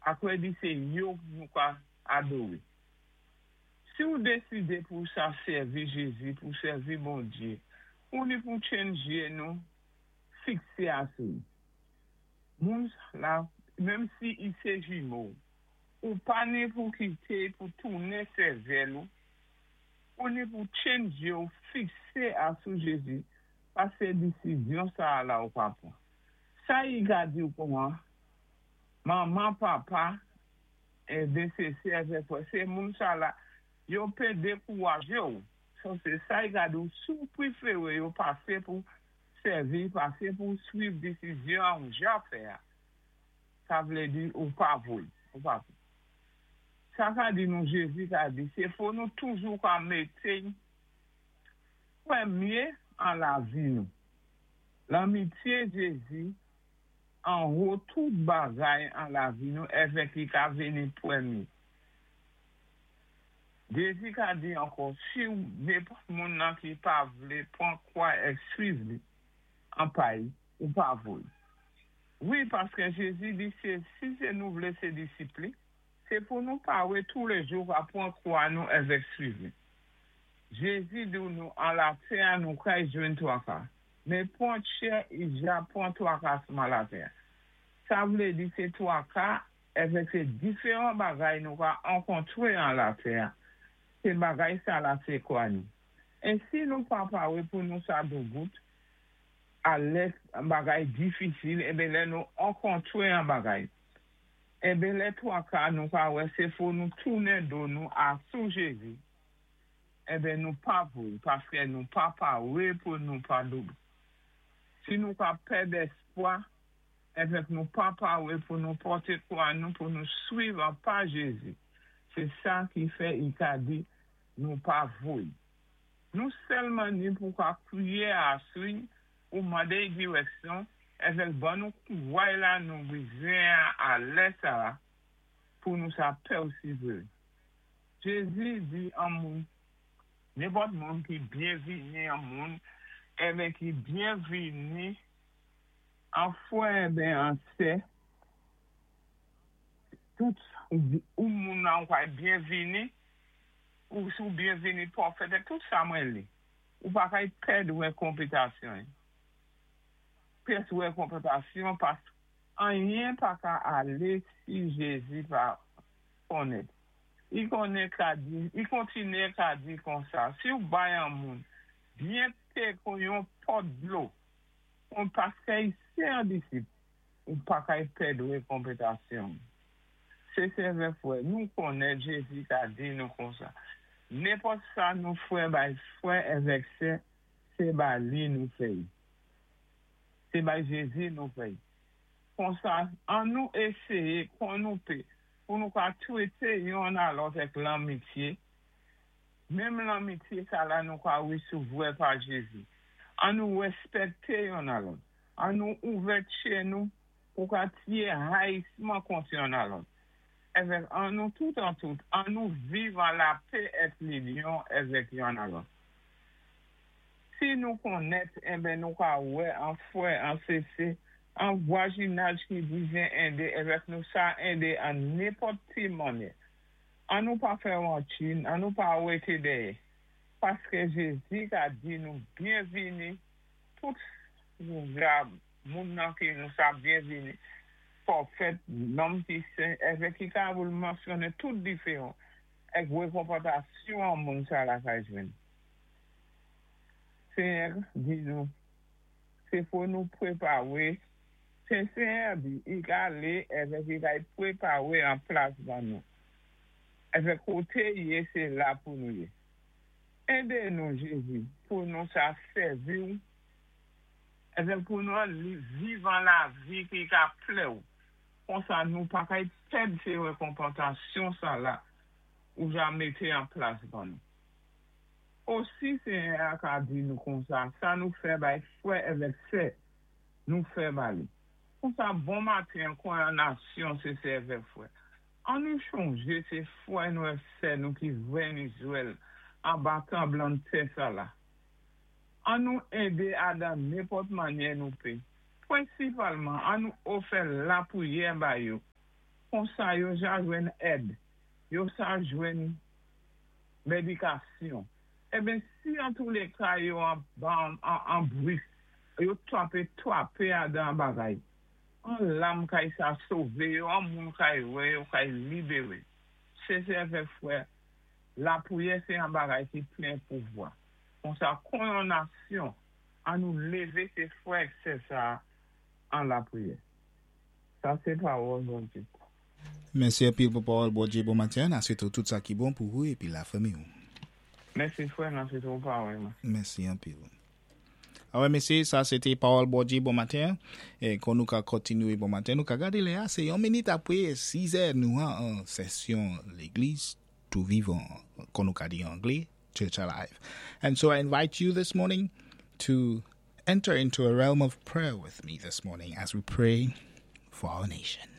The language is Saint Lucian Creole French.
Akwé di sé yo nou ka adoré. Si ou désidé pou sa sèvi Jézi, pou sèvi Bondyé, ou ni pou tjenn jyé nou fiksé asou li. Moun la, menm si i sé jimo, ou pa ni pou kité pou tounen sèvèl ou, ou ni pou tjenn jyé ou fiksé asou Jézi, pasé disizyon sa-a la ou ka pwan. Sa i ka di ou kouman, manman, papa, enben sé sè avèk frè, sé moun sa la, yo pé dékouwajé ou. So sé sa i ka di ou, si ou pwéféré yo pasé pou sèvi, pasé pou swiv disizyon an ou ja fè a, sa vlé di ou pa vo l, ou pa vo. Sa ka di nou Jézi ka di, sé fò nou toujou ka mété pwémyé an lavi nou. Lanmityé Jézi anwo tout bagay an lavi nou èvèk li ka vini pwémyé. Jézi ka di ankò, si nenpòt moun nan ki pa vlé pwan kwa èk swiv li an pay, ou pa vo l. Wi, paskè Jézi di sé si sé nou vlé sé disip li, sé pou nou pawé toulèjou ka pwan kwa nou èvèk swiv li. Jézi di nou an latè a nou kay jwenn twaka, men pwan tchè i ja pwan twakasman latè a. Sa vlé di sé twaka èvèk sé diferan bagay nou ka ankontwé an latè a, sé bagay sa la sé kwa nou. É si nou pa pawé pou nou sa doubout a lè bagay difisil, enben lè nou ankontwé an bagay, enben lè twaka nou ka wè sé fo nou tounen do nou asou Jézi, enben nou pa vo l, paskè nou pa pawé pou nou pa doubout. Si nou ka pèd èspwa, èvèk nou pa pawé pou nou pòté kwa nou pou nou swiv an pa Jézi, sé sa ki fè i ka di nou pa vo l. Nou sèlman ni pou ka kwiyé asou i pou mandé i dirèksyon, èvèk ban nou kouway la nou bizwen a a lè sa a pou nou sa pèsivéré. Jézi di an moun, nenpòt moun ki byenvini an moun, enben ki byenvini an frè enben an sè, tout ou moun nan ou kay byenvini, ou si ou byenvini pwofèt e tout sa mwen li, ou pa kay pèd rekonpetasyon. Pyès rekonpetasyon pask anyen pa ka alé si Jézi pa konnen. I konnen ka di, i kontinyé ka di konsa, si ou bay an moun byen pé kon yon pòt dlo, kon paskè i sé an disip, ou pa kay pèd rekonpetasyon. Sé sèvè frè, nou konnen Jézi ka di nou konsa, nenpòt sa nou frè bay frè èvèk sè, sé ba li nou fè y. Sé bay Jézi nou fè y. Konsa, an nou éséyé kon nou pé pou nou ka twété yonn a lòt èk lanmityé, menm lanmityé sa la nou ka wésouvwè pa Jézi. An nou wèspèkté yonn a lòt. An nou ouvè tchè nou pou ka tié hayisman kont yonn a lòt. Èvèk an nou tout an tout, an nou viv an lapè èk linyon èvèk yonn a lòt. Si nou konnèt, enben nou ka wè an frè, an sese, an vwajinaj ki bizyen ende èvèk nou sa ende an nenpòt ti mannyè. An nou pa fè ranchin, an nou pa wété dèyè. Paskè Jézi ka di nou byenvini tout moun nan ki nou sa byenvini, pwofèt, nonm ki sen, èvèk ki ka voul mansyonnen tout diferan èk rekonpòtasyon an moun sa la ka jwenn. Senyè di nou, se fo nou pwepawe, se Senyè di, i ka ale èvèk i kay pwepawe an plas ban nou. Èvèk kote i ye se la pou nou ye. Ede nou Jezi pou nou sa sèvi w èvèk pou nou an li viv an lavi ki ka plè w konsa nou pa kay pèd se rekonpantasyon sa la ou ja mete an plas ban nou. Osi Senyè a ka di nou konsa sa nou fè bay frè èvèk sè nou fè ba li. Konsa bon maten kwè an nasyon se sèvè frè. An nou chonje se frè nou èk sè nou ki vrè Izrèl anba tranblann tè sa la. An nou ede adan nenpòt mannyè nou pe. Prensipalman an nou ofè lapriyè ba yo. Konsa yo ja jwenn èd, yo sa jwenn médikasyon. Eben, si an tou lé ka yo an brik, yo twapé twapé adan bagay, an lam kay sa sové yo, an moun kay wè yo kay libéré. Se sè frè, lapriyè sé an bagay ki plen pouvwa. Konsa kon yon nasyon, an nou lévé sé frè sé sa an lapriyè. Sa sé pawòl Bondyé. Mèsi anpil pou pawòl Bondyé bon maten. N a swété tout sa ki bon pou ou épi lafanmi ou. Mèsi frè, n a swété ou parèyman. Mèsi anpil. Awè mésyé, sa sé té pawòl Bondyé bon maten. É kon nou ka kontinyé bon maten, nou ka gadé lè a, sé yon minit apwé 6 è nou an sesyon Légliz Tou Vivan, kon nou ka di an anglé, Church Alive. And so I invite you this morning to enter into a realm of prayer with me this morning as we pray for our nation.